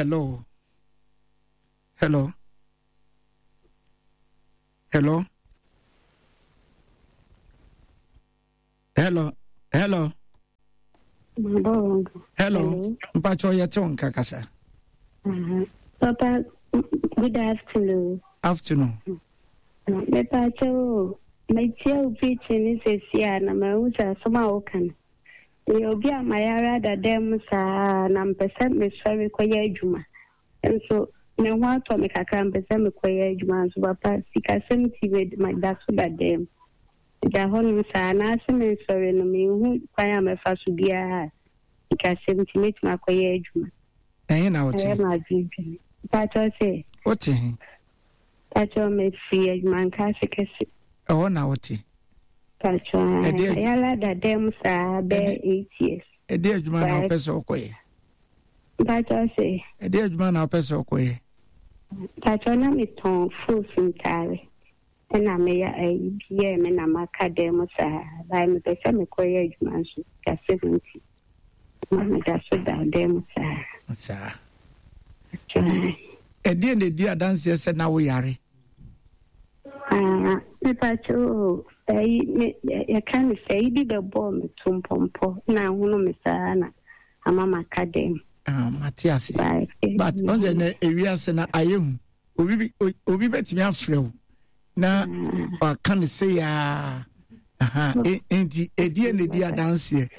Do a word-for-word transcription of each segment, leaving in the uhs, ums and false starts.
Hello, hello, hello, hello, hello, hello. Mpakyɛ, yɛte wo nka, kasa. Uh-huh. Papa, good afternoon. Afternoon. Mepakyɛ o, metie wo preaching ne sɛsi a na mahu sɛ asɛm a woka no, meyɛ obi a mayare adada mu saa na mpɛ sɛ mesɔre kɔyɛ adwuma nso me ho atɔ me kakra, mpɛ sɛ mekɔyɛ adwuma nso, papa, sikasɛm ti meda so dada mu da hɔnom saa anaasɛ mensɔre no, menhu kwan a mɛfa so biara a sikasɛm nti mɛtumi akɔyɛ adwuma. Ɛhe na wote? Ɛyɛ m'adwendwene. Mpakyɛw sɛ? Wote he? Mpakyɛw, mefiri adwumanka ase kɛse. Ɛhɔ na wote? Mpakyɛw, ayala dada mu saa bɛɛ eight years. Ɛde adwuma na wopɛ sɛ wokɔyɛ? Mpakyɛw sɛ? Ɛde adwuma na wopɛ sɛ wokɔyɛ? Mpakyɛw, na metɔn fos ntaare ɛna meyɛ ayi bi yɛɛ me na maka dan mu saa bae, mepɛ sɛ mekɔyɛ adwuma nso sikasɛm nti ma meda so da dan mu saa. Saa ɛdeɛ na ɛdi adanseɛ sɛ na woyare? Mepakyɛw, ɛyi me yɛka ne sɛ ɛyi bi bɛbɔɔ me to mpɔmpɔ na ahono me saa na ama maka dan mu. Mate ase, but ɔn sɛ nɛ ewiase na ayɛ hu, obi bi obi bɛtumi afrɛ wo na waka ne sɛ yaa nti ɛdeɛ na ɛdi adanseɛ?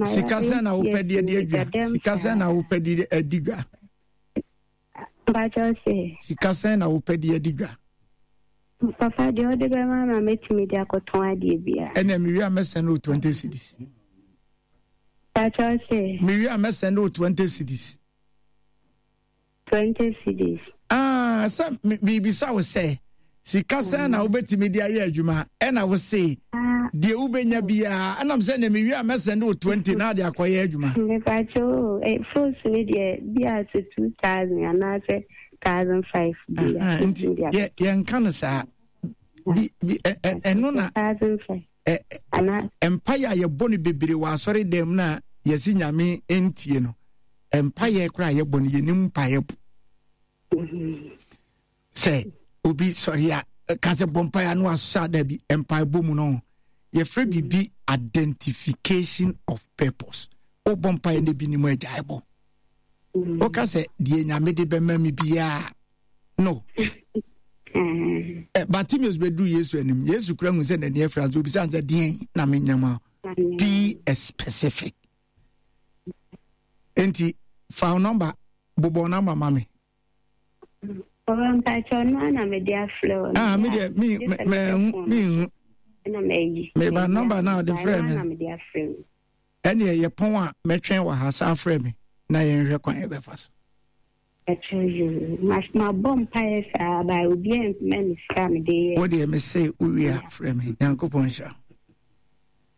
Sika sɛn na wopɛ de adi adwa? Sika sɛn na wopɛ de adi dwa? Sika sɛn na wopɛ de adi dwa? Papa, deɛ ɔde bɛma ma mɛtumi de akɔtɔn adeɛ biara. Ɛnna mewie a mɛsɛn no twenty cedis. Mewie a mɛsɛn no twenty cedis. Twenty cedis. Ah, sɛ biribisa wo sɛ sika sɛn na wobɛtumi de ayɛ adwuma, ɛna wo se deɛ wobɛnya biara, ɛnam sɛ nea mewie a mɛsɛn de wo twenty na ade akɔyɛ adwuma. Mepakyɛ, fos no deɛ bi a sɛ two thousand anaasɛ thousand five bi. Nti yɛnka no saa, ɛno na mpaeɛ a yɛbɔ no bebree wɔ asɔre dɛm no a yɛsi Nyame ntie no. Mpaeɛ koraa yɛbɔ no, yɛnim mpaeɛ bo sɛ obi sɔre a ka sɛ bɔ mpaeɛ ano asɔ ada bi. Mpaebɔ mu no, yɛfrɛ biribi identification of purpose. Wobɔ mpaeɛ no bi nim agyae bɔ, woka sɛ deɛ Nyame de bɛma me biaa no. Bartimeus bɛduru Yesu anim, Yesu kura hu sɛ n'ani afira nso obisa sɛ, "Deɛn na menyɛ ma?" Be a specific. Nti fa wo number, bobɔ number ma me. Ah, me deɛ me me me hu meba number na ɔde frɛ me. Ɛne ɛyɛ pɔn a mɛtwɛn wɔ ha, saa frɛ me na yɛnhwɛ kwan yɛbɛfa so. Mabɔ mpaeɛ saa ba obiara ntoma me sika mede yɛ. Wo deɛ, mese wowie a frɛ me. Nyankopɔn nhyira.